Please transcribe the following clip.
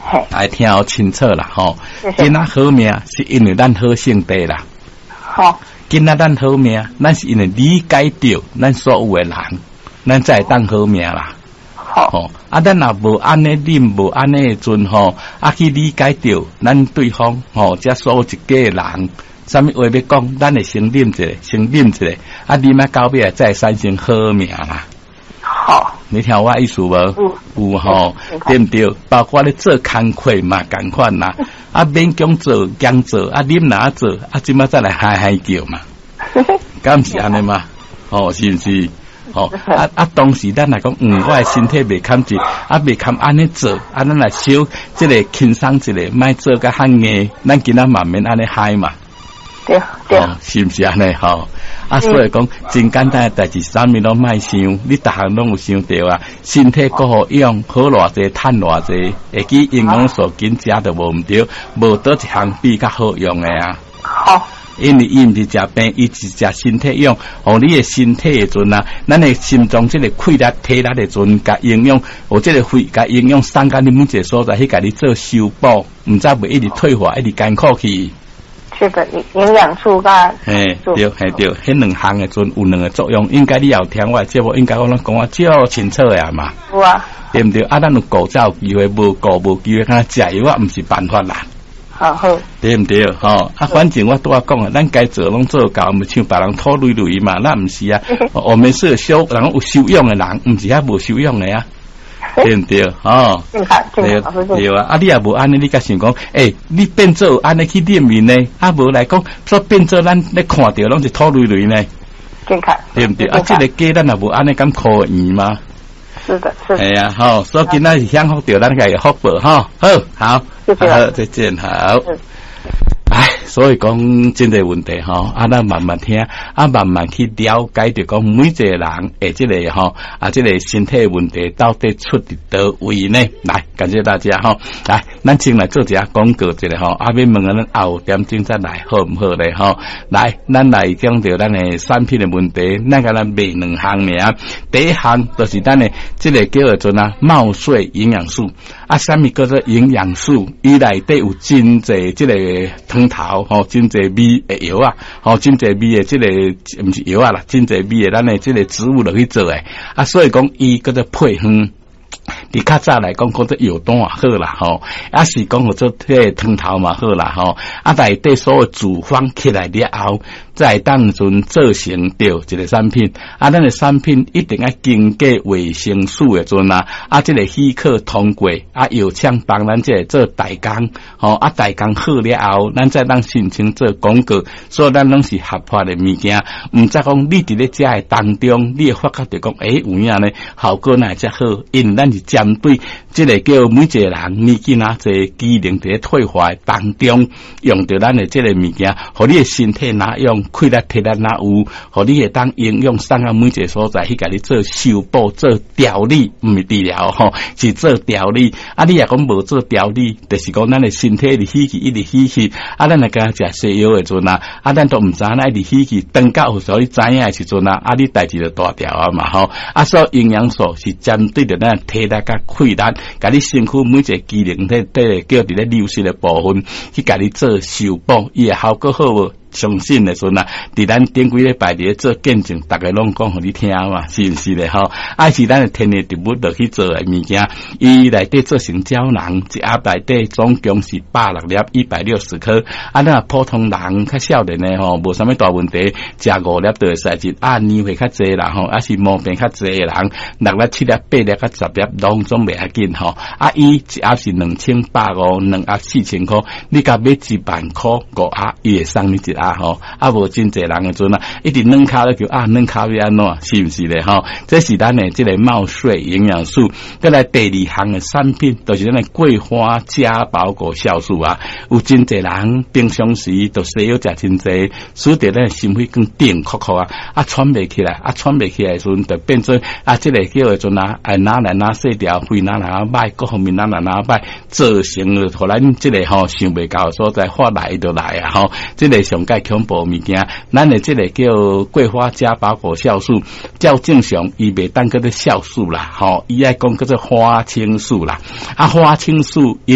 嘿。來聽好清楚啦，吼。謝謝。今仔好命是因為咱好性地啦。好。今仔咱好命，咱是因為理解著咱所有的人，咱才會當好命啦。好。吼，啊，咱若無按呢啉，無按呢的陣吼，啊去理解著咱對方吼，遮所有一家的人，啥物話欲講，咱會先啉一下，先啉一下，啊，啉啊到尾才會產生好命啦。好。你聽我意思無？有。有吼，對毋對？包括咧做工課嘛，仝款啦。啊，勉強做，強做，啊，啉哪做，啊，這馬再來嗨嗨叫嘛。敢毋是按呢嘛？吼，是毋是？吼，啊啊！當時咱來講，我的身體袂堪濟，啊，袂堪按呢做，啊，咱來小這個輕鬆一下，莫做甲較硬，咱今仔嘛免按呢嗨嘛。對對。是毋是按呢？吼，啊，所以講真簡單的代誌，啥物攏莫想，你逐項攏有想著啊。身體閣好用，好偌濟，趁偌濟，會記營養素緊食都無毋對，無佗一項比較好用的啊。好。因為伊毋是食病，伊是食身體養，予你的身體的陣啊，咱的心臟這個氣力、體力的陣，共營養，予這個血共營養送到你每一個所在去，共你做修補，毋才袂一直退化，一直艱苦去。這個營養素佮嘿，對，嘿對，彼兩項的陣有兩個作用，應該你也有聽我的節目，應該我攏講啊足清楚的嘛。有啊。對毋對？啊，咱有顧才有機會，無顧無機會，敢若食藥啊，毋是辦法啦。好好。對毋對？吼，啊，反正我拄仔講啊，咱該做攏做到，毋像別人土累累嘛，咱毋是啊。我們是修，人有修養的人，毋是遐無修養的啊。對毋對？吼。正確，正確，對啊，啊，你也無按呢，你閣想講，欸，你變做按呢去練面呢？啊，無來講，煞變做咱咧看著攏是土累累呢？正確。對毋對？啊，這個家咱也無按呢敢可圓嗎？是的，是的。係啊，吼，所以今仔是享福著咱家的福報，吼，好，好，謝謝。好，再見，好。唉，所以講真濟問題吼，啊，咱慢慢聽，啊，慢慢去了解，著講每一個人的這個吼，啊，這個身體問題到底出佇佗位呢？來，感謝大家吼，來，咱先來做一下廣告一下吼，啊，欲問咱後點鐘再來好毋好咧吼？來，咱來講著咱的產品的問題，咱共咱賣兩項爾，第一項就是咱的這個叫做啊，茂穗營養素，啊，啥物叫做營養素？伊內底有真濟這個湯頭吼，真濟味的藥啊，吼，真濟味的這個毋是藥啊啦，真濟味的咱的這個植物落去做的，啊，所以講伊叫做配方。佇較早來講，講做藥湯也好啦，吼，啊是講號做彼個湯頭嘛好啦，吼，啊內底所有組方起來了後，才會當陣做成著一個產品。啊，咱的產品一定愛經過衛生署的陣啊，啊，這個許可通過，啊，藥廠幫咱這個做代工，吼，啊，代工好了後，咱才當申請做廣告，所以咱攏是合法的物件。毋才講你佇咧食的當中，你會發覺著講，欸，有影呢，效果哪會遮好？因為咱是針對這個叫每一個人年紀若濟機能佇咧退化的當中，用著咱的這個物件，予你的身體若用，氣力體力若有，予你會當營養送到每一個所在去，共你做修補、做調理，毋是治療吼，是做調理。啊，你若講無做調理，就是講咱的身體一直死去，一直死去。啊，咱若敢食西藥的陣啊，啊，咱都毋知影一直死去，等到有時候你知影的時陣啊，啊，你代誌就大條啊嘛吼。啊，所以營養素是針對著咱體力佮氣力，共你身軀每一個機能體體叫佇咧流失的部分，去共你做修補，伊的效果好無？相信的時陣啊，佇咱頂幾禮拜佇咧做見證，逐家攏講予你聽嘛，是毋是咧吼？啊是咱的天然植物落去做的物件，伊內底做成膠囊，一盒內底總共是160粒，160顆。啊，咱若普通人較少年的吼，無啥物大問題，食五粒就會使一啊，年歲較濟啦吼，啊是毛病較濟的人，六粒、七粒、八粒佮十粒攏總袂要緊吼。啊，伊一盒是2150，兩盒4000箍，你共買1萬箍五盒，伊會送你一盒吼。啊，無真濟人的陣啊，一直軟跤咧叫啊，軟跤欲按怎，是毋是咧吼？這是咱的這個茂穗營養素。閣來第二項的產品，就是咱的桂花加保果酵素啊。有真濟人平常時就西藥食真濟，使得咱的心血管頂扣扣啊，啊喘袂起來，啊喘袂起來的時陣，就變做啊這個叫的陣啊，哎哪來哪細條，肺哪來哪歹，各方面哪來哪歹，造成了予咱這個吼想袂到的所在發來就來啊吼，這個上蓋恐怖物件，咱的這個叫桂花加保果酵素，照正常伊袂當叫做酵素啦，吼，伊愛講叫做花青素啦，啊花青素因為。